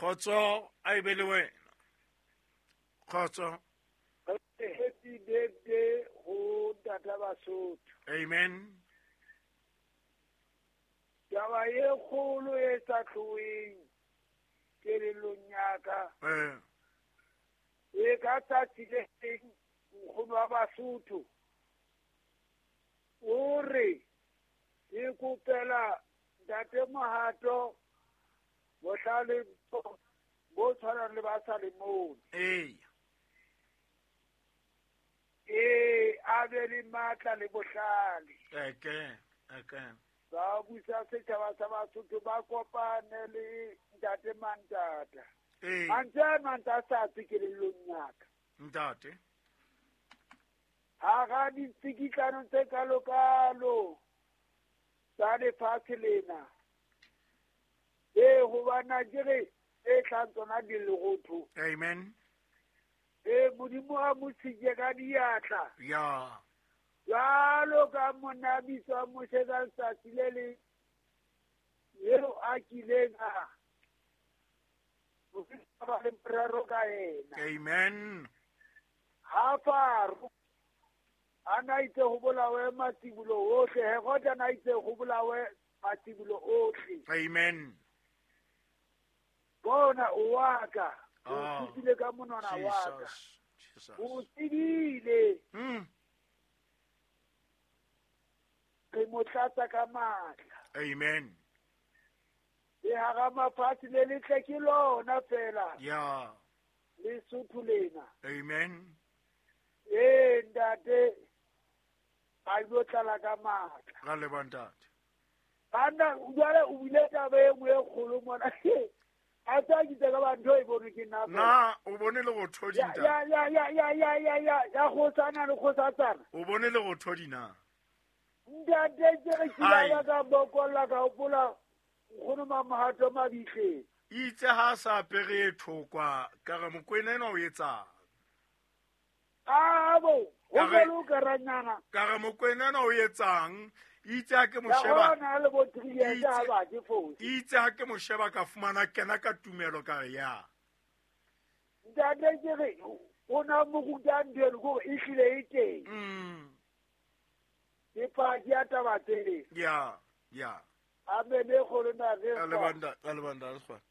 Kgotso a e be le wena. Kgotso. Happy birthday ho Tata Basotho. Amen. Taba e kgolo e sa tloheng kelellong ya ka. E ka tsatsi le leng nkgono wa Basotho o re ke kopela Ntate Mohato bohlale bo tshwanang le ba Salemone. Ee. Ee, a be le matla le bohlale. Eke, eke. Ba busa setjhaba sa Basotho ba kopane le Ntate Mantata. Ee. Mantswe a mantse a sa tswe kelellong ya ka. Ntate. Hara ditsikitlano tse kalokalo tsa lefatshe lena. Ee, hobane ke re e tlang tsona di lerotho. Amen. Ee, Modimo a mo sike ka diatla. Ya. Jwalo ka monna a bitswang Moshe ka letsatsi le leng eo a kileng a ba le morero ka yena. Amen. Ha Faro a na itse ho bolawe matsibolo ohle, Herode a na itse ho bolawe matsibolo ohle. Amen. Bona o wa ka, o tsebile ka monwana wa ka. Jesus. O tsebile. Re mo tlatsa ka matla. Amen. Le hara mafatshe le letle ke lona fela. Ya. Lesotho lena. Amen. Ee, ntate, a yo tlala ka matla. Ra leboha ntate. Banna, jwale o bile taba e nngwe e kgolo mona. A tsa ke tsaka ba ntho e bonwe ke nna fela. Na o bone le go thodi Ya, ntate? ya, ya, ya, ya, ya, ya, ya, ya kgosana le kgosatsana. O bone le go thodi na? Ntate, ke re ke Hai. la ka bokolla ka hopola nkgono Mamohato Mabitleng. Itse ha a sa apere e thokwa, ka re Mokwena enwa o etsang? Abo, ho Ka re jwalo ka ranyana. Ka re Mokwena enwa o etsang? Itse ha ke mo Ya sheba. hona le bo 3 years Itse ha ba ke fose. Itse ha ke mo sheba ka fumana kena ka tumelo ka re ya. Ntate ke re o na mo ruta ntho eno kore e hlile e teng. Ke paki ya taba tseo. Ya, ya. Amen e kgolo na re Ra leboha ntate, ra leboha ntate Sekgwane.